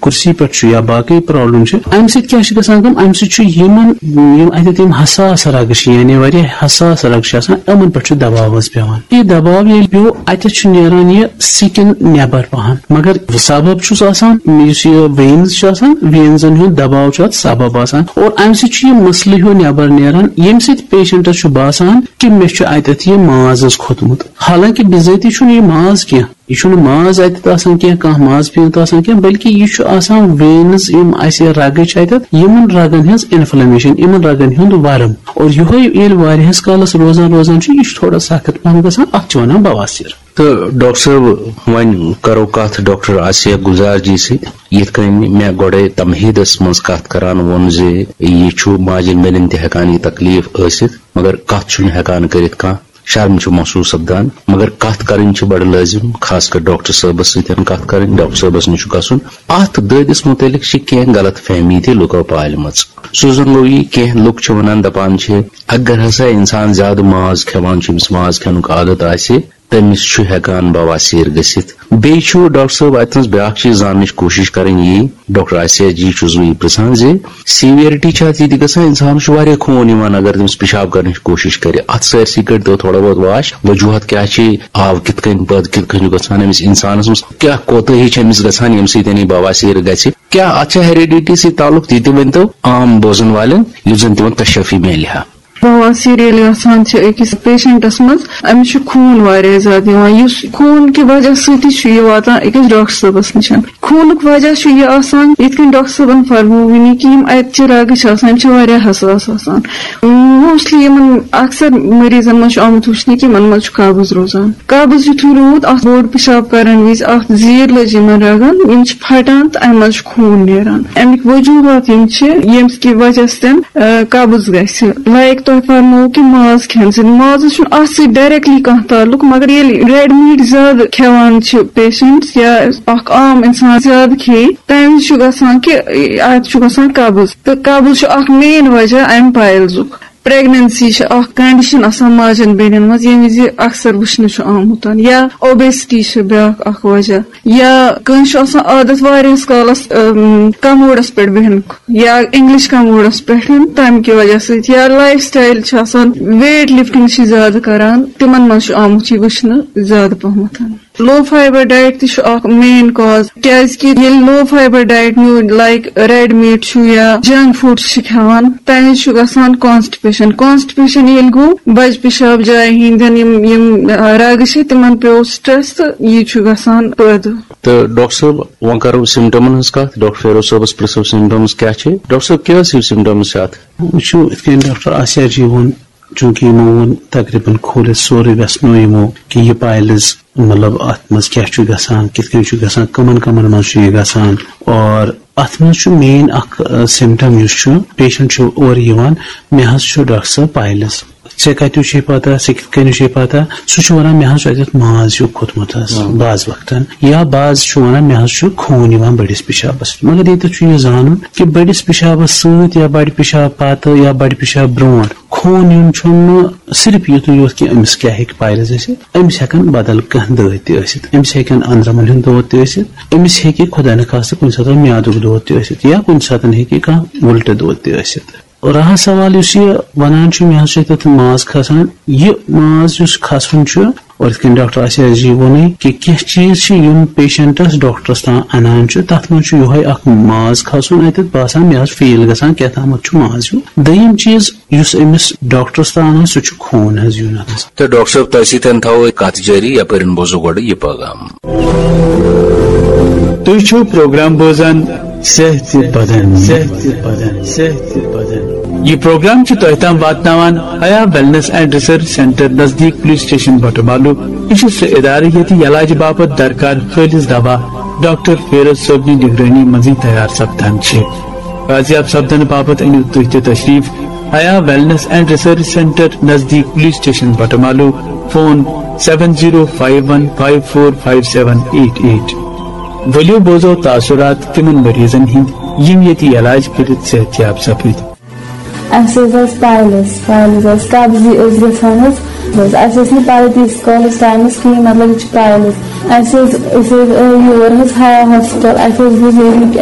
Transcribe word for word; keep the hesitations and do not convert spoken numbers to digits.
کرسی پٮ۪ٹھ چھُ یا باقٕے پرابلم چھِ، امہِ سۭتۍ کیٛاہ چھِ گژھان کٲم؟ امہِ سۭتۍ چھُ یِمن، یِم اتٮ۪تھ یِم حساس رگہٕ چھِ، یعنی واریاہ حساس رگہٕ چھِ آسان، یِمن پٮ۪ٹھ چھُ دباو حظ پٮ۪وان۔ یہِ دباو ییٚلہِ پیوٚو، اتٮ۪تھ چھُ نیران یہِ سکن نٮ۪بر پہن، مگر سبب چھُس آسان، یُس یہِ وینز چھُ آسان، وینزن ہُنٛد دباو چھُ اتھ سبب آسان، اور امہِ سۭتۍ چھُ یہِ مسلہٕ ہیوٗ نٮ۪بر نیران، ییٚمہِ سۭتۍ پیشنٹس چھُ باسان کہِ مےٚ چھُ اتٮ۪تھ یہِ ماز حظ کھوٚتمُت، حالانکہ بِذٲتی چھُنہٕ یہِ ماز کینٛہہ۔ یہِ چھُنہٕ ماز اتٮ۪تھ آسان کینٛہہ، کانٛہہ ماز پیٖنت آسان کینٛہہ، بلکہِ یہِ چھُ آسان وینز، یِم اسہِ رگہٕ چھِ اتٮ۪تھ، یِمن رگن ہٕنٛز انفلمیشن، یِمن رگن ہُنٛد ورم۔ اور یِہوے ییٚلہِ واریاہس کالس روزان روزان چھُ، یہِ چھُ تھوڑا سخت پہم گژھان، اتھ چھِ ونان بواسیر۔ تہٕ ڈاکٹر صٲب، وۄنۍ کرو کتھ ڈاکٹر آسیہ گلزار جی سۭتۍ۔ یِتھ کٔنۍ مےٚ گۄڈے تمہیٖدس منٛز کتھ کران ووٚن زِ یہِ چھُ ماجن بیٚنٮ۪ن تہِ ہٮ۪کان یہِ تکلیف ٲسِتھ، مگر کتھ چھُنہٕ ہٮ۪کان کٔرِتھ کانٛہہ، شرم چھُ محسوٗس سپدان، مگر کتھ کرٕنۍ چھِ بڑٕ لٲزم، خاص کر ڈاکٹر صٲبس سۭتۍ کتھ کرٕنۍ، ڈاکٹر صٲبس نِش چھُ گژھُن۔ اتھ دٲدِس متعلق چھِ کینٛہہ غلط فہمی تہِ لُکو پالمٕژ۔ سُہ زن گوٚو یہِ، کینٛہہ لُکھ چھِ ونان، دپان چھِ، اگر ہسا انسان زیادٕ ماز کھٮ۪وان چھُ، أمِس ماز کھٮ۪نُک عادت آسہِ، تٔمِس چھُ ہٮ۪کان بواسیر گٔژھِتھ۔ بیٚیہِ چھُ ڈاکٹر صٲب اتہِ نس بیٛاکھ چیٖز زاننٕچ کوٗشِش کرٕنۍ یی، ڈاکٹر آسیہ جی چھُس بہٕ یہِ پرژھان زِ سیویرٹی چھا اتھ یہِ تہِ گژھان، انسانس چھُ واریاہ خوٗن یِوان اگر تٔمِس پِشاب کرنٕچ کوٗشِش کرِ، اتھ سٲرسٕے کٔرۍ تو تھوڑا بہت واش، وجوہات کیٛاہ چھِ، آو کِتھ کٔنۍ پٲدٕ، کِتھ کٔنۍ چھُ گژھان، أمِس انسانس منٛز کیٛاہ کوتٲہی چھِ أمِس گژھان ییٚمہِ سۭتۍ یہِ بواسیر گژھِ، کیٛاہ اتھ چھا ہیریڈیٹی سۭتۍ تعلق، تہِ تہِ ؤنۍ تو عام بوزن والٮ۪ن یُتھ زن تِمن تشفی میلہِ ہا۔ بواسیر ییٚلہِ گژھان چھِ أکِس پیشنٹس منٛز، أمِس چھُ خوٗن واریاہ زیادٕ یِوان، یُس خوٗن کہِ وجہ سۭتی چھُ یہِ واتان أکِس ڈاکٹر صٲبس نِش۔ خوٗنُک وجہ چھُ یہِ آسان، یِتھ کٔنۍ ڈاکٹر صٲبن فرموو وٕنی کہِ یِم اَتہِ چہِ رگہٕ چھِ آسان، یِم چھِ واریاہ حساس آسان۔ موسٹلی یِمن اکثر مریضن منٛز چھُ آمُت وٕچھنہٕ کہِ یِمن منٛز چھُ قبض روزان۔ قبض یُتھُے روٗد، اتھ بوٚڑ پِشاب کرن وِزِ اکھ زیٖر لٔج یِمن رگن، یِم چھِ پھٹان تہٕ امہِ منٛز چھُ خوٗن نیران۔ امیِکۍ وجوہات یِم چھِ، ییٚمہِ کہِ وجہ سۭتۍ، آ، قبض گژھِ۔ لایک تۄہہِ فرموو کہِ ماز کھٮ۪نہٕ سۭتۍ، مازس چھُنہٕ اتھ سۭتۍ ڈایریکٹلی کانٛہہ تعلق، مگر ییٚلہِ ریڈ میٖٹ زیادٕ کھٮ۪وان چھِ پیشنٹس یا اکھ عام انسان زیادٕ کھیٚیہِ، تمہِ وِزِ چھُ گژھان کہِ اتھ چھُ گژھان قبض، تہٕ قبض چھُ اکھ مین وجہ امہِ پایلزُک۔ پریگننسی چھِ اکھ کنڈیشن آسان ماجن بیٚنٮ۪ن منٛز، ییٚمہِ وِزِ اکثر وٕچھنہٕ چھُ آمُت، یا اوبیسٹی چھِ بیٛاکھ اکھ وجہ، یا کٲنٛسہِ چھُ آسان عادت واریاہس کالس، اَم، کموڈس پٮ۪ٹھ بیٚہنُک، یا انگلش کموڈس پٮ۪ٹھ، تمہِ کہِ وجہ سۭتۍ، یا لایف سٹایل چھِ آسان، ویٹ لفٹنگ چھِ زیادٕ کران، تِمن منٛز چھُ آمُت یہِ وٕچھنہٕ زیادٕ پہمتھ۔ لو فایبر ڈایٹ تہِ چھُ اکھ مین کاز، کیازِ کہِ ییٚلہِ لو فایبر ڈایٹ نیوٗ، لایک ریڈ میٖٹ چھُ یا جنک فوڈ چھِ کھٮ۪وان، تمہِ وِزِ چھُ گژھان کانسٹِپیشن۔ کانسٹِپیشن ییٚلہِ گوٚو، بجہِ پِشاب جایہِ ہٕنٛدٮ۪ن یِم، یِم، آ، رگہٕ چھِ، تِمن پیوٚو سٹریس تہٕ یہِ چھُ گژھان پٲدٕ۔ تہٕ ڈاکٹر صٲب، وۄنۍ کرو سمٹمن ہٕنٛز کتھ۔ ڈاکٹر فیروز صٲبس پرژھو سمٹمز کیٛاہ چھِ۔ ڈاکٹر صٲب، کیٛاہ ٲسِو سمٹمز چھِ اتھ؟ وٕچھِو، یِتھ کٔنۍ ڈاکٹر آسیہ جی ووٚن، چوٗنٛکہِ یِمو ووٚن تقریباً کھوٗلِتھ سورُے وٮ۪ژھنو یِمو کہِ یہِ پایلز، مطلب، اتھ منٛز کیٛاہ چھُ گژھان، کِتھ کٔنۍ چھُ گژھان، کٕمن کٕمن منٛز چھُ یہِ گژھان۔ اور اتھ منٛز چھُ مین اکھ، آ، سمٹم یُس چھُ، پیشنٹ چھُ اورٕ یِوان، مےٚ حظ چھُ ڈاکٹر صٲب پایلز۔ ژےٚ کتیُو چھے پتہ، ژےٚ کِتھ کٔنۍ چھے پتہ؟ سُہ چھُ ونان، مےٚ حظ چھُ اتٮ۪تھ ماز ہیوٗ کھوٚتمُت حظ، آ۔ بعض وقتن۔ یا بعض چھُ ونان، مےٚ حظ چھُ خوٗن یِوان بٔڑِس پِشابس سۭتۍ۔ مگر ییٚتٮ۪تھ چھُ یہِ زانُن کہِ بٔڑِس پِشابس سۭتۍ یا بڑِ پِشاب پتہٕ یا بڑِ پِشاب برونٛٹھ خوٗن یُن چھُنہٕ صرف یُتُے یوت کہِ أمِس کیٛاہ ہیٚکہِ پایلز ٲسِتھ، أمِس ہٮ۪کن بدل کانٛہہ دٲدۍ تہِ ٲسِتھ، أمِس ہٮ۪کن أنٛدرمن ہُنٛد دود تہِ ٲسِتھ، أمِس ہیٚکہِ خۄدا نخواستہٕ کُنہِ ساتہٕ میادُک دود تہِ ٲسِتھ یا کُنہِ ساتہٕ ہیٚکہِ کانٛہہ وُلٹہٕ دود تہِ ٲسِتھ۔ راہ سوال یُس یہِ ونان چھُ، مےٚ حظ چھُ تتھ ماز کھسان، یہِ ماز یُس کھسُن چھُ، اور یِتھ کٔنۍ ڈاکٹر آسیہ جی ووٚنُے کہِ کینٛہہ چیٖز چھِ یِم پیشنٹس ڈاکٹرس تام انان چھُ، تتھ منٛز چھُ یِہوے اکھ ماز کھسُن اتٮ۪تھ باسان، مےٚ حظ فیٖل گژھان کیٛاہ تامتھ چھُ ماز ہیوٗ۔ دوٚیِم چیٖز یُس أمِس ڈاکٹرس تام انان، سُہ چھُ خوٗن حظ یُن اتھ منٛز۔ تہٕ ڈاکٹر صٲب، تۄہہِ سۭتۍ تھاوو کتھ جٲری، یپٲرۍ بوزو گۄڈٕ یہِ پیغام۔ تُہۍ چھِو پروگرام بوزان صحت تہِ بدن، صحت تہِ بدن، صحت تہِ بدن۔ یہِ پروگرام چھُ تۄہہِ تام واتناوان حیا ویلنس اینڈ ریسرچ سینٹر نزدیٖک پولیس سٹیشن بٹہٕ مالوٗ۔ یہِ چھُ سُہ ادارٕ ییٚتہِ علاج باپتھ درکار خٲلص دوا ڈاکٹر فیروز صٲبنہِ نگرٲنی منٛزٕے تیار سپدان چھِ۔ بازیاب سپدنہٕ باپتھ أنِو تُہۍ تہِ تشریٖف Haya wellness and research centre نزدیٖک police station Batamaloo. Phone seven zero five one five four five seven eight eight۔ ؤلِو بوزو تاثرات تِمن مریضن ہٕنٛدۍ یِم ییٚتہِ علاج کٔرِتھ صحت یاب سپٕدۍ۔ اَسہِ حظ ٲس پایلز، پایلز ٲس قبضی ٲس گژھان حظ۔ بس اَسہِ ٲس نہٕ پَے تیٖتِس کالَس ٹایمَس کِہیٖنۍ، مطلب یہِ چھِ پایلز۔ اَسہِ حظ، أسۍ حظ آے یور حظ ہا ہاسپِٹل، اَسہِ حظ بوٗز ییٚمِکۍ